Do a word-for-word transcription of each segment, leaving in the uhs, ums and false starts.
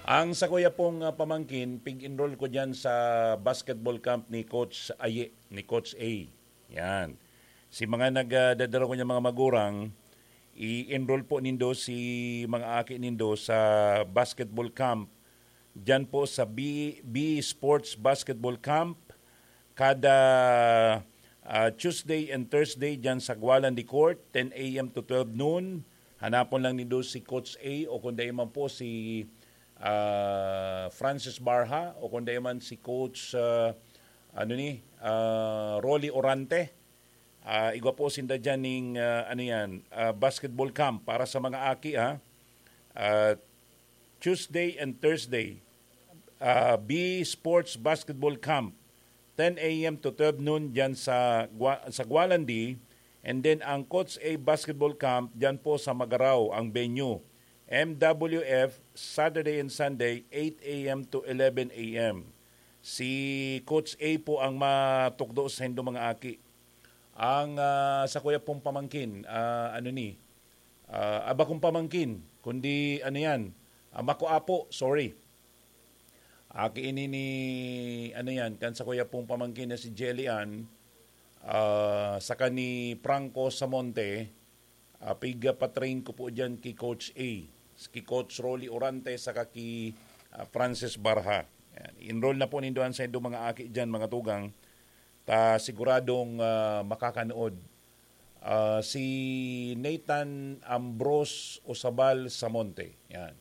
Ang sakuya pong, ah, pamangkin, pig-enroll ko diyan sa basketball camp ni Coach Aye, ni Coach A. Yan. Si mga nagdadala ko niya mga magurang, i-enroll po nindo si mga aki nindo sa basketball camp. Diyan po sa B, B Sports Basketball Camp. Kada, ah, Tuesday and Thursday diyan sa Gualan de Court, ten a m to twelve noon. Hanapon lang nindo si Coach A o kung dai man po si, ah, Francis Barha o kung dai man si Coach, ah, ano ni, ah, Rolly Orante. Ah, igwa po sinda diyan ning, ah, ano yan, ah, basketball camp para sa mga aki, ha. Ah, Tuesday and Thursday, ah, B Sports Basketball Camp, ten a m to twelve noon diyan sa Gua-, sa Gualandi. And then ang Coach A Basketball Camp diyan po sa Magarao ang venue. M W F, Saturday and Sunday, eight a m to eleven a m. Si Coach A po ang matukdo sa indo mga aki. Ang, ah, sakuya pong pamangkin, ah, ano ni, ah, aba kong pamangkin, kundi ano yan, ah, makuapo, sorry. Aki ini ni, ano yan, kan sakuya pong pamangkin na si Jelly Ann, ah, saka ni Franco Samonte, ah, pig-, ah, pa-train ko po dyan ki Coach A, ki Coach Rolly Orante, saka ki, ah, Francis Barha. Yan. Enroll na po nindo an saindo mga aki dyan, mga tugang, ta siguradong, ah, makakanood. Ah, si Nathan Ambrose Osabal Samonte. Yan.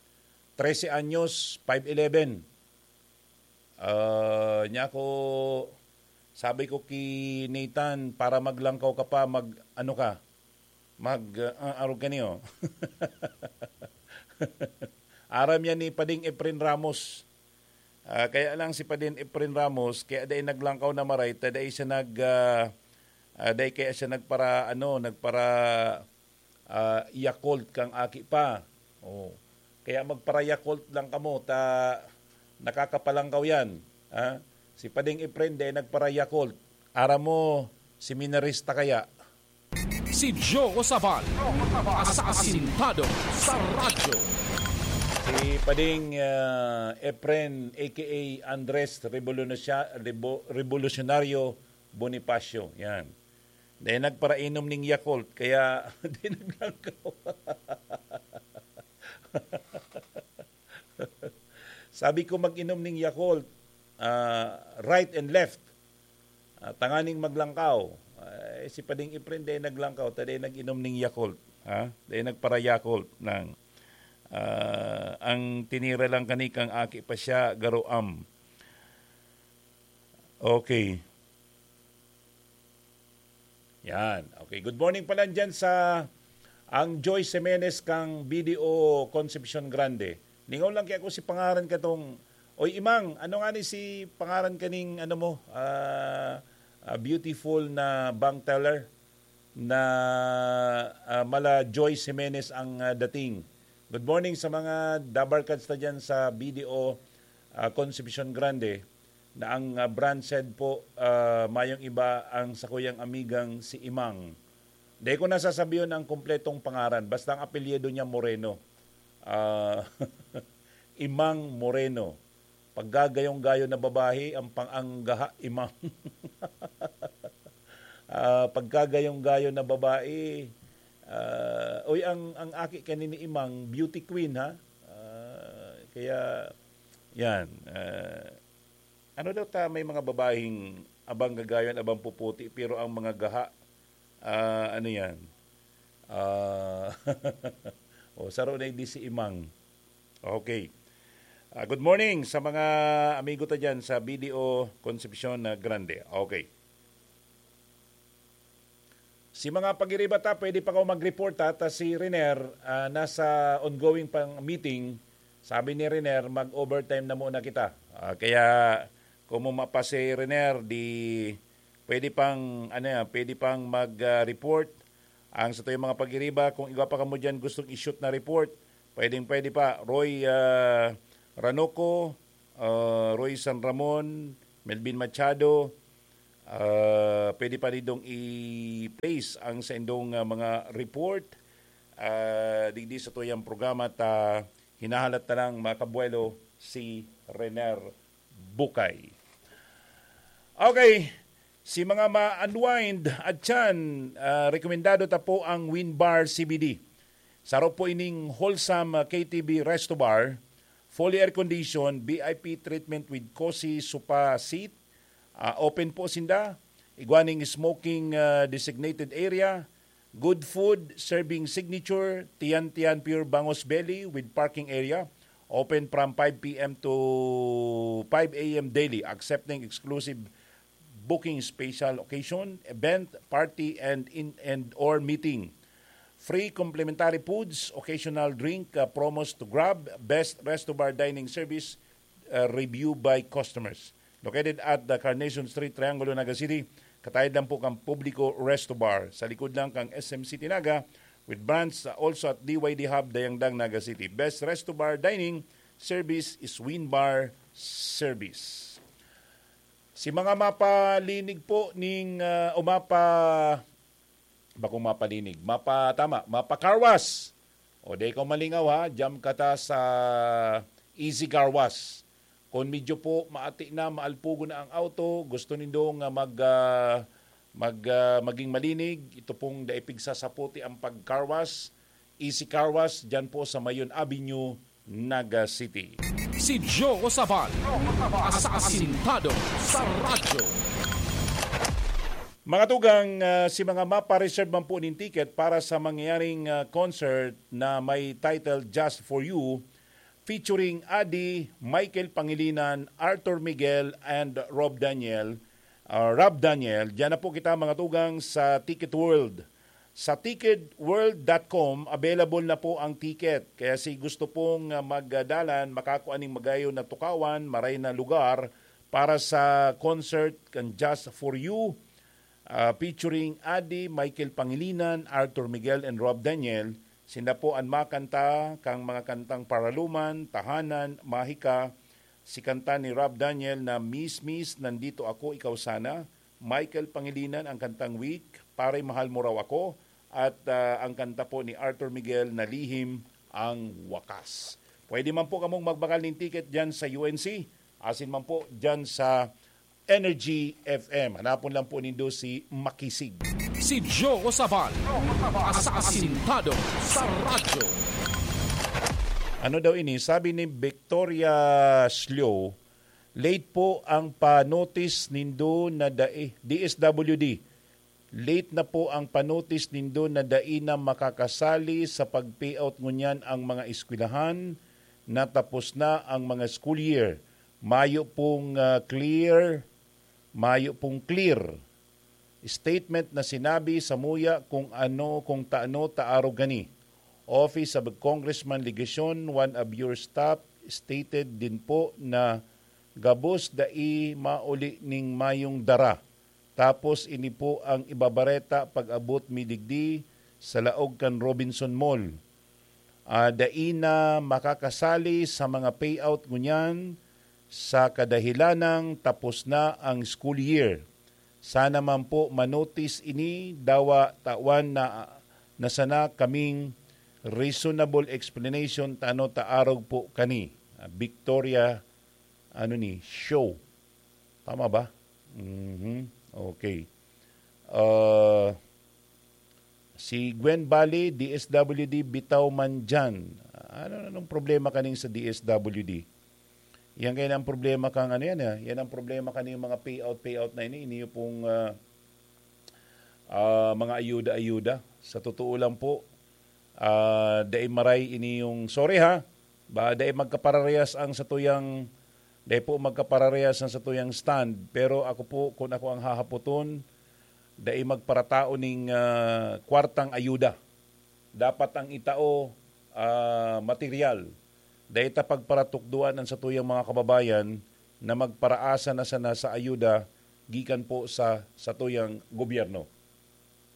Trese anyos, five eleven. Ah, niya ako, sabi ko ki Nathan, "Para maglangkaw ka pa, mag, ano ka, mag, ah, arog ka niyo." Aram yan ni Pading Efren Ramos. Ah, kaya lang si Pading Efren Ramos, kaya dai naglangkaw na maray, ta dai siya nag, ah, ah, dai kaya siya nagpara, ano, nagpara, ah, Yakult kang aki pa. Oh. Kaya magpara-Yakult lang kamo, ta nakakapalangkaw yan. Ha? Si Pading Efren, dai nagpara-Yakult. Aram mo, seminarista kaya. Si Joe Sabal, asasintado sa radyo. Si Pading, ah, Efren, A K A Andres Revolucion-, Revo-, Revolucionario Bonifacio. Yan. Dai nagparainom ning Yakult, kaya dai naglangkaw. Sabi ko mag-inom ning Yakult, ah, right and left. Ah, tanganing maglangkaw. Ay, si Pading Efren dai naglangkaw, ta dai nag-inom ning Yakult. Ha? Dai nagpara-Yakult nang, ah, ang tinira lang kani kang aki pa siya, garoam. Okay. Yan. Okay. Good morning pala dyan sa ang Joy Jimenez kang B D O Concepcion Grande. Ningaw lang kaya ako si pangaran katong, "Oy, Imang, ano nga ni si pangaran kaning, ano mo, ah, ah, beautiful na bank teller na, ah, mala Joy Jimenez ang, ah, dating." Good morning sa mga dabarkads ta dyan sa B D O, ah, Concepcion Grande. Na ang, ah, branch head po, ah, mayong iba ang sakuyang amigang si Imang. Dai ko na sasabihon ang kumpletong pangaran, basta ang apelyido niya Moreno. Ah, Imang Moreno. Paggagayong-gayo na babae, ang pang-, ang gaha, Imang. Ah, pagkagayong-gayo na babae, ah, uy, ang, ang aki kanini Imang, beauty queen, ha? Ah, kaya, yan, ah, ano daw ta, may mga babaeng abang gagayon, abang puputi, pero ang mga gaha, ah, ano yan? Ah, o, saro na hindi si Imang. Okay. Ah, good morning sa mga amigo ta dyan sa B D O Concepcion na Grande. Okay. Si mga pagiriba ta, pwede pa kaw mag-report, ha? Ta si Riner, ah, nasa ongoing pang meeting. Sabi ni Riner, "Mag-overtime na muna kita." Ah, kaya kung mo mapa si Riner, di pwede pang, ano yan, pwede pang mag, ah, report. Ang sa tuyong mga pagiriba, kung igwa pa kamo dyan gustong i-shoot na report, pwedeng pwede pa. Roy, ah, Ranoco, ah, Roy San Ramon, Melvin Machado, ah, pwede pa nindong i-place ang saindong, ah, mga report, ah, digdi sa tuyang programa ta hinahalat na lang, mga kabuelo, si Rener Bukay. Okay, si mga ma-unwind at tiyan, ah, rekomendado ta po ang Win Bar C B D. Saro po ining wholesome, ah, K T V resto bar, fully air-conditioned, V I P treatment with cozy sofa seat. Ah, open po sinda. Igwa ning smoking, ah, designated area. Good food, serving signature, Tiyan Tiyan Pure Bangus Belly with parking area. Open from five p m to five a m daily, accepting exclusive booking, special occasion, event, party, and in, and or meeting. Free complimentary foods, occasional drink, uh, promos to grab, best resto bar dining service, uh, review by customers. Located at the Carnation Street, Triangulo, Naga City, katayad lang po kan Publico Resto Bar, sa likod lang kan S M City Naga, with branch, uh, also at D Y D Hub, Dayangdang, Naga City. Best resto bar dining service is Win Bar Service. Si mga mapalinig po ning, ah, o mapa-, bakong mapalinig, mapa-, tama, mapa-car wash. O, di ikaw malingaw, ha, jam ka ta sa Easy Car Wash. Kung medyo po maati na, maalpugo na ang auto, gusto nindo nga mag, ah, mag, ah, maging malinig, ito pong dai pigsasaputi ang pag-car wash, Easy Car Wash, dyan po sa Mayon Avenue, Naga City. Si Joe Sabal, asasintado sa radyo. Mga tugang, ah, si mga mapa-reserve man po nin ticket para sa mangyayaring, ah, concert na may title Just For You, featuring Adi, Michael Pangilinan, Arthur Miguel, and Rob Daniel, ah, Rob Daniel, diyan na po kita, mga tugang, sa Ticket World. Sa ticket world dot com, available na po ang ticket. Kaya si gusto pong, ah, magdalan, makakua ning magayon na tukawan, maray na lugar para sa concert kan Just For You, ah, featuring Adi, Michael Pangilinan, Arthur Miguel, and Rob Daniel. Sinda po an makanta kang mga kantang Paraluman, Tahanan, Mahika, si kanta ni Rob Daniel na Miss Miss, Nandito Ako, Ikaw Sana, Michael Pangilinan ang kantang Weak, Pare Mahal Mo Raw Ako, at, ah, ang kanta po ni Arthur Miguel na Lihim ang Wakas. Pwede man po kamong magbakal nin ticket dyan sa U N C, asin man po dyan sa Energy F M. Hanapon lang po nindo si Makisig. Si Joe Sabal, asasintado sa radyo. Ano daw ini? Sabi ni Victoria Slio, late po ang pa-notice nindo na dai, D S W D. Late na po ang pa-notice nindo na dai na makakasali sa pag-payout ngunyan ang mga eskwelahan na tapos na ang mga school year. Mayo pong, ah, clear, mayo pong clear statement na sinabi samuya kung ano, kung taano ta arog gani. Office of Congressman Legacion, one of your staff, stated din po na gabos dai mauli ning mayong dara. Tapos ini po ang ibabareta pag-abot mi digdi sa laog kan Robinson Mall. Ah, dai na makakasali sa mga payout ngunyan sa kadahilanang tapos na ang school year. Sana man po manotis ini, dawa tawan na, na sana kaming reasonable explanation ta ano ta arog po kani. Ah, Victoria, ano ni, show. Tama ba? Mhm. Okay. Ah, si Gwen Bali, D S W D bitaw man dyan. Ano, anong problema kaning sa D S W D? Yan kayo ang problema kang ano yan, ah. Yan ang problema kaning mga payout, payout na ini. Ini yung pong, ah, ah, mga ayuda-ayuda. Sa totoo lang po, ah, dai maray ini yung, sorry ha, ba, dai magkapararehas ang satuyang, dai po magkapararehas ang satuyang stand. Pero ako po, kung ako ang hahapoton, dai magparatao ning, ah, kwartang ayuda. Dapat ang itao, ah, material. Dai ta pagparatukdoan ang satuyang mga kababayan na magparaasa na sana sa ayuda gikan po sa satuyang gobyerno.